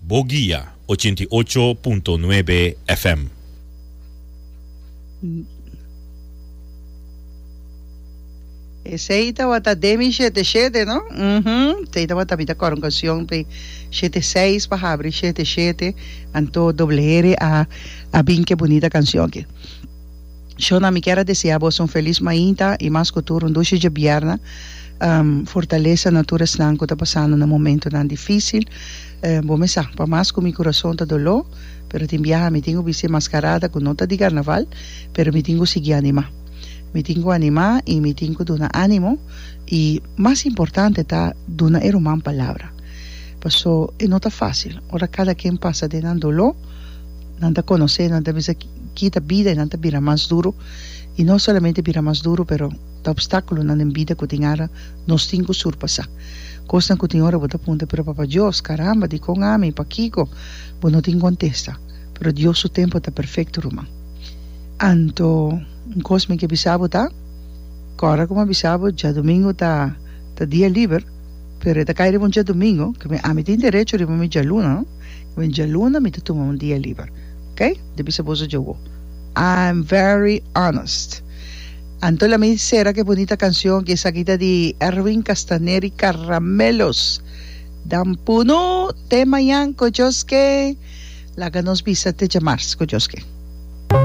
Bo Guia 88.9 FM. Esey tabata Demi shete shete no? Uhmm esey tabata mi ta kòrda un kanshon pe shete seis pa habri shete shete anto Doble R a a bin ke bunita kanshon aki. Shona mi kier a desea boso un felis mainta y mas cu tur un dushi djebierna. Fortalesa na tur esnan cu ta pasando na momentonan dificil. Bo me sa, pa mas cu mi curason ta doló, pero tin biaha mi tin cu bisti e mascarada cu no ta di carnaval, pero mi tin cu sigui anima. Mi tin cu anima y mi tin cu duna animo y mas importante ta duna e ruman palabra. Paso e no ta facil ora cada ken pasa den nan doló. Nan ta konosé, nan ta bisa ki ta bida i nan ta bira mas duru. I no solamente bira mas duru, pero ta opstákulonan den bida ku tin ara nos tin ku surpasá. Kosnan ku tin ora bo ta puntra, pero Papa Dios, karamba, dikon ami? Pakiko? Bo no tin kontesta. Pero Dios su tempu ta perfekto, ruman. Anto, un kos mi ke bisa bo ta, kòrda ku mi a bisa bo, djadumingu ta ta dia liber, pero e ta kai riba un djadumingu, ke ami tin derecho riba mi djaluna, no? Wen djaluna mi ta tuma un dia liber. Ok? Di bisa boso djawo. I'm very honest. Anto la mi sera ke bunita cancion ki esaki ta di Erwin Castaneri Caramelos. Dan punu te mañan ku Dios ke. Laga nos bisa te djamars ku Dios ke.